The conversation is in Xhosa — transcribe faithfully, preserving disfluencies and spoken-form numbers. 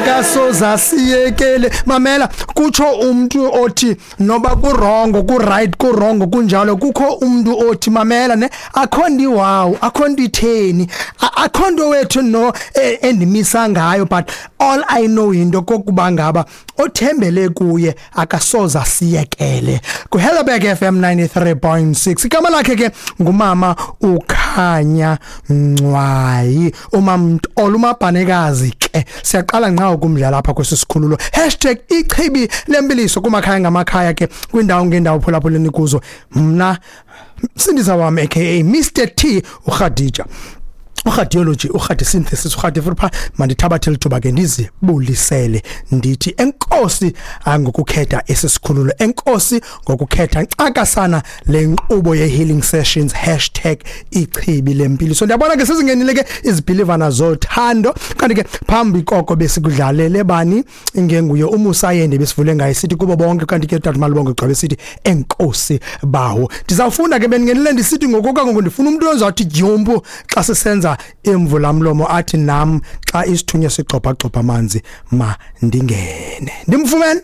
Akasoza siyekele. Mamela, kutsho umuntu othi noba ku-wrong, ku-right, ku-wrong kunjalo, kukho umuntu othi mamela ne akho nto iwawu, akho nto itheni, akho nto wethu no endimisa ngayo, but all I know into kokuba ngaba othembele kuye akasoza siyekele. Ku Helderberg F M ninety-three point six, igama lakhe ke ngumama uKhanya Ngcwayi, uMamtolo uMabhanekazi ke. Siyaqala nqa ukumdlala apha kwesi sikhululo. Hashtag ichibi lempiliso kumakhaya ngamakhaya ke, kwindawo ngendawo phulaphuleni kuzo. Mna Msindisa wami aka Mister T uKhadija, uRadiology, uRadi Synthesis, uRadi Fripha. Mandithabathe lithuba ke ndizibulisele ndithi enkosi ngokukhetha esi sikhululo, enkosi ngokukhetha ncakasana le nkqubo ye healing sessions hashtag ichibi lempilo. So ndiyabona ke sezingenile ke izibhilivana zothando, kanti ke phambi koko besikudlalele bani ingenguye uMusayende besivule ngaye sithi kubo bonke, kanti ke tata Malibongo gcwabe sithi enkosi bawo. Ndizawufunda ke bendingenile ndisithi ngokuka ngoku ndifuna umuntu ozathi dyumpu xa sisenza imvula mlomo athi nam xa isithunywa sigxobha gxobha amanzi ma ndingene. Ndimfumene.